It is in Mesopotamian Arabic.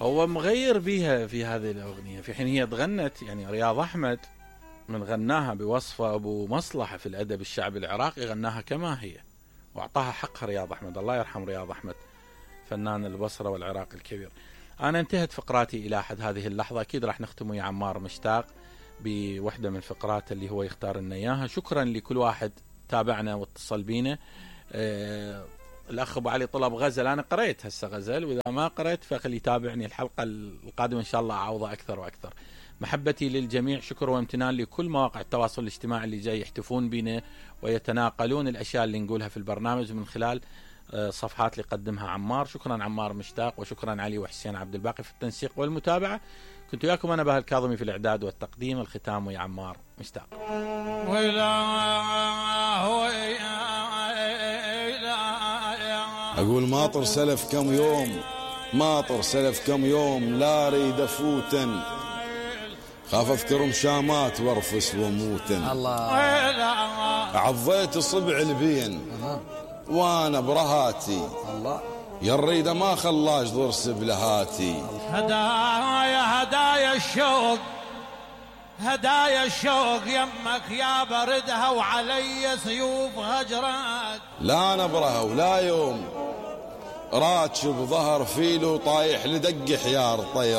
هو مغير بيها في هذه الأغنية، في حين هي تغنت يعني رياض أحمد من غناها بوصفه أبو مصلحة في الأدب الشعبي العراقي، غناها كما هي وأعطاها حقها رياض أحمد. الله يرحم رياض أحمد فنان البصرة والعراق الكبير. أنا انتهت فقراتي إلى حد هذه اللحظة، أكيد راح نختم ويا عمار مشتاق بوحدة من فقرات اللي هو يختار لنا إياها. شكرا لكل واحد تابعنا واتصل بينا. الأخ أبو علي طلب غزل، أنا قريت هسه غزل، وإذا ما قريت فخلي يتابعني الحلقة القادمة إن شاء الله أعوضه أكثر وأكثر. محبتي للجميع، شكر وامتنان لكل مواقع التواصل الاجتماعي اللي جاي يحتفون بنا ويتناقلون الأشياء اللي نقولها في البرنامج من خلال صفحات اللي قدمها عمار. شكرا عمار مشتاق، وشكرا علي وحسين عبد الباقي في التنسيق والمتابعة. كنت وياكم أنا بهاء الكاظمي في الإعداد والتقديم. الختام ويا عمار مشتاق. أقول ماطر سلف كم يوم، ماطر سلف كم يوم، لا أريد أفوتن، خاف أذكر مشامات وارفس وموتن. الله عضيت صبع البين وانا برهاتي، الله يا الريده ما خلاش ضرس بلهاتي. هدايا هدايا الشوق، هدايا الشوق يمك يا بردها وعلي سيوف هجرات. لا نبرها ولا يوم راتش بظهر فيلو طايح لدق حيار طير